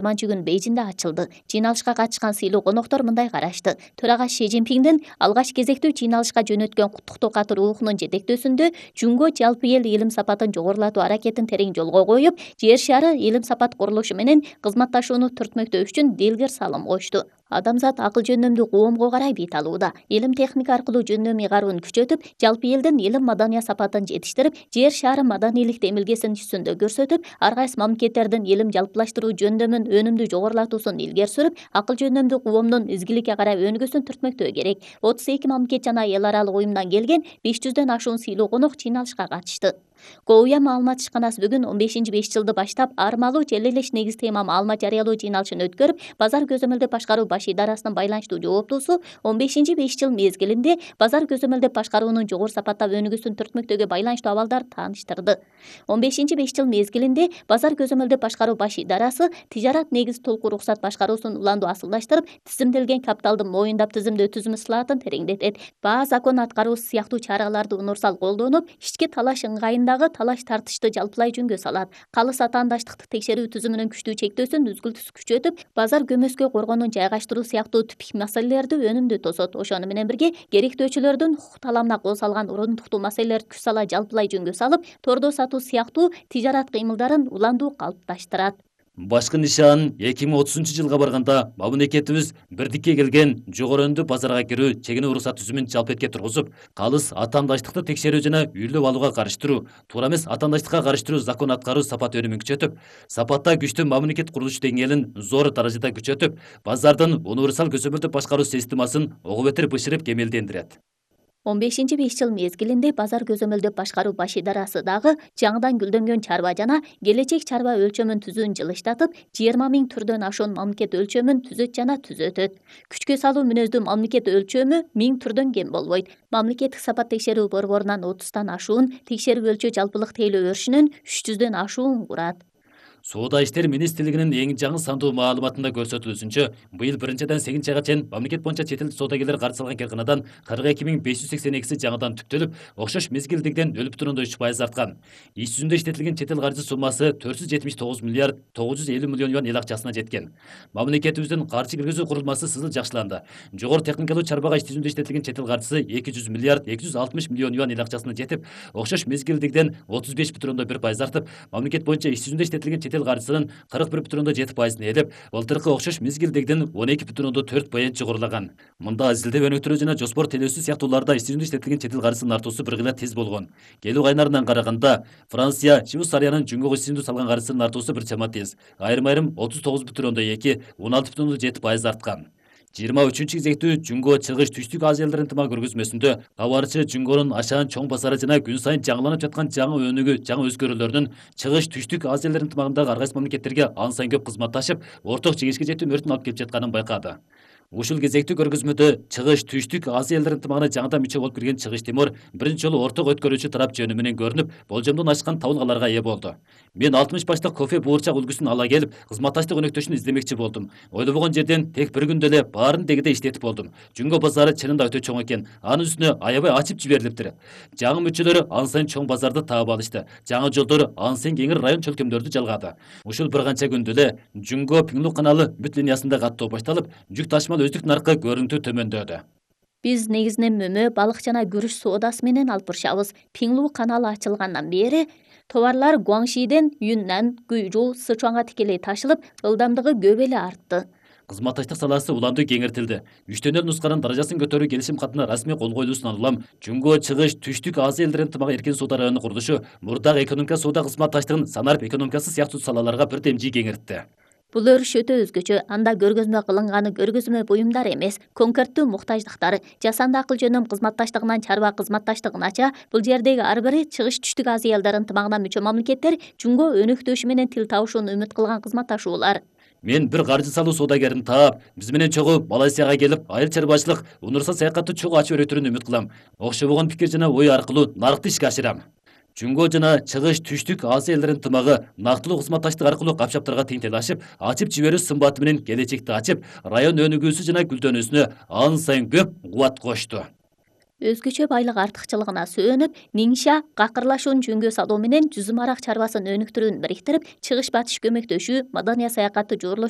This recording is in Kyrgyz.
күн Бейжинде ачылды. Жыйналышка катышкан сыйлуу коноктор мындай карашты. Төрага Ши Цзиньпиңдин алгач кезектүү жыйналышка жөнөткөн куттуктоо каты рухунун жетектөөсүндө Жунго жалпы эл илим сапатын жогорулатуу аракетин терең жолго коюп, жер шары илим сапат курулушу менен кызматташууну түртмөктөө үчүн делгер салым кошту. Адамзат акыл жөндөмдүү коомго карай бет алууда. Илим техника аркылуу жөндөм ыйгаруун күчөтүп, жалпы элдин илим маданият сапатын жетиштирип, жер шары маданийлик демилгесин жүзүндө көрсөтүп, ар кайсы мамлекеттердин илим жалпылаштыруу жөндөмүн өнүмдүү жогорулатуусун илгери сүрүп, акыл жөндөмдүү коомдун изгиликке карай өнүгүүсүн түртмөктөө керек. 32 мамлекет жана эл аралык уюмдан келген 500дөн ашуун сыйлуу конок жыйналышка катышты. Коуя маалымат ишканасы бүгүн 15-5 баштап армалуу желелеш негиз тема маалымат жарыялоо жыйналышын өткөрүп, базар көзөмөлдөп башкаруу баш идарасынын байланыштуу жооптуусу 15-5 мезгилинде базар көзөмөлдөп башкаруунун жогору сапаттап өнүгүүсүн түртмөктөгө байланыштуу абалдарды тааныштырды. 15-5 мезгилинде базар көзөмөлдөп башкаруу баш идарасы тижарат негиз толку уруксат башкаруусун уландуу асылдаштырып, тизимделген капиталды моюндап тизимдөө түзүм ысылаатын тереңдетет. Баа закон аткаруусу сыяктуу чараларды универсал колдонуп, ички талаш ыңгайындагы талаш тартышты жалпылай жөнгө салат. Калыс атаандаштыкты текшерүү түзүмүнүн күчтүү чектөөсүн үзгүлтүс күчөтүп, базар көмөскө коргоонун жайгаштыруу сыяктуу түпк маселелерди өнүмдүү тосот. Ошону менен бирге керектөөчүлөрдүн укук таламына кол салган урундуктуу маселелерди күч сала жалпылай жөнгө салып, тордо сатуу сыяктуу тижарат кыймылдарын уландуу калыпташтырат. Башкы нишан 2030-жылга барганда мамлекетибиз бирдикке келген жогору базарга кирүү чегине уруксат түзүмүн жалпетке тургузуп, калыс атаандаштыкты текшерүү жана үйлөп алууга карыштыруу, туура эмес атаандаштыкка карыштыруу закон аткаруу сапат өнүмүн күчөтүп, сапатта күчтүү мамлекет курулуш деңгээлин зор даражада күчөтүп, базардын универсал көзөмөлдөп башкаруу системасын ого бетер бышырып кемелдендирет. 15-5 мезгилинде базар көзөмөлдөп башкаруу баш идарасы дагы жаңыдан гүлдөнгөн чарба жана келечек чарба өлчөмүн түзүүнү жылыштатып, 20 000 түрдөн ашуун мамлекет өлчөмүн түзөт жана түзөтөт. Күчкө салуу мүнөздүү мамлекет өлчөмү 1000 түрдөн кем болбойт. Мамлекеттик сапат текшерүү борборунан 30тан ашуун, текшерип өлчөө жалпылык тейлөө өрүшүнөн 300дөн ашуун курат. Соода иштер министрлигинин эң жаңы сандуу маалыматында көрсөтүлүүсүнчө, быйыл 1-8 айга чейин мамлекет боюнча чет эл соодагерлер каржы алган кыйрканадан 42.582 жаңыдан түптөлүп, окшош мезгилдегиден 0,3% арткан. Иш жүзүндө иштетилген чет эл каржы суммасы 479 миллиард 950 миллион юан эл акчасына жеткен. Мамлекетибиздин каржы киргизүү курулмасы сызыл жакшыланды. Жогору техникалуу чарбага иш жүзүндө иштетилген чет эл каржысы 200 миллиард 260 миллион юан эл акчасына жетип, окшош мезгилдегиден 35,1% артып, мамлекет боюнча иш жүзүндө иштетилген чет эл каржысынын 41,7%-ын ээлеп, былтыркы окшош мезгилдегиден 12,4% жогорулаган. Мында изилдөө өнүктүрүү жана жоспор телөөсү сыяктууларда иш жүзүндө иштетилген чет эл каржысынын артуусу бир кыйла тез болгон. Келүү кайнарынан караганда, Франция, Швейцариянын Жөнгө иш жүзүндө салган каржысынын артуусу бир чама тез. Айрым-айрым 39,2, 16,7% арткан. 23 кезектүү Жөнгө чыгыш түштүк Азия элдеринин ынтымак көргөзмөсүндө кабарчы Жөнгөнүн ашаан чоң базары жана күн сайын жаңыланып жаткан жаңы өнүгүү, жаңы өзгөрүүлөрдүн чыгыш түштүк Азия элдеринин ынтымагындагы ар кайсы мамлекеттерге ан сайын көп кызматташып, орток жигишке жетүү мөрүтүн алып келип жатканын байкады. Ушул кезектүү көргөзмөдө чыгыш түштүк Азия элдеринин ынтымагына жаңыдан мүчө болуп кирген Чыгыш Тимор биринчи жолу орток өткөрүүчү тарап жөнү менен көрүнүп, болжомдон ашкан табылгаларга ээ болду. Мен 60 баштык кофе буурчак үлгүсүн ала келип, кызматташтык өнөктөшүн издемекчи болдум. Ойлобогон жерден тек бир күндө эле баарын дегиде иштетип болдум. Жөнгө базары чынында өтө чоң экен. Анын үстүнө аябай ачып жиберилиптир. Жаңы мүчөлөрү ан сайын чоң базарды таап алышты. Жаңы жолдор ан сайын кеңир район чөлкөмдөрдү жалгады. Ушул бир канча күндө эле Жөнгө Пиңлу каналы бүт линиясында каттоо башталып, жүк ташымал өздүк наркы көрүнүктүү төмөндөдү. Биз негизинен мөмө, балык жана күрүч соодасы менен алып барышабыз. Пиңлу каналы ачылгандан бери товарлар Гуаңшиден Юннан, Гуйжу, Сычуанга тикелей ташылып, ылдамдыгы көп эле артты. Кызматташтык саласы уланды кеңиртилди. Үчтөн эл нусканын даражасын көтөрүү келишим катына расмий кол коюлуусунан улам Жөнгө чыгыш түштүк Азия элдеринин ынтымак эркин соода районунун курулушу мурдагы экономика соода кызматташтыгын санарып экономикасы сыяктуу салаларга бир демжи кеңиртти. Бул өрүш өтө өзгөчө. Анда көргөзмө кылынганы көргөзмө буюмдар эмес, конкреттүү муктаждыктар, жасанды акыл жөнөм кызматташтыгынан чарба кызматташтыгынача бул жердеги ар бири чыгыш түштүк Азия элдер ынтымагына мүчө мамлекеттер Жөнгө өнөктөшү менен тил табышууну үмүт кылган кызматташуулар. Мен бир каржы салуу соодагерин таап, биз менен чогуу Малайзияга келип, айыл чарбачылык, универсал саякатты чогуу ачып өтөрүнү үмүт кылам. Окшобогон пикир жана ой аркылуу нарыкты ишке ашырам. Жөнгө жана чыгыш түштүк Азия элдеринин ынтымагы нактылуу кызматташтык аркылуу капчаптарга тең талашып, ачып жиберүү сымбаты менен келечекти ачып, район өнүгүүсү жана гүлдөнүүсүнө ан сайын көп кубат кошту. өзгөчө байлык артыкчылыгына сөөнүп, Ниңша какырлашуун жөнгө салуу менен жүзүм арак чарбасын өнүктүрүүнү бириктирип, чыгыш батыш көмөктөшүү, Маданий саякатты жуурлоштуруу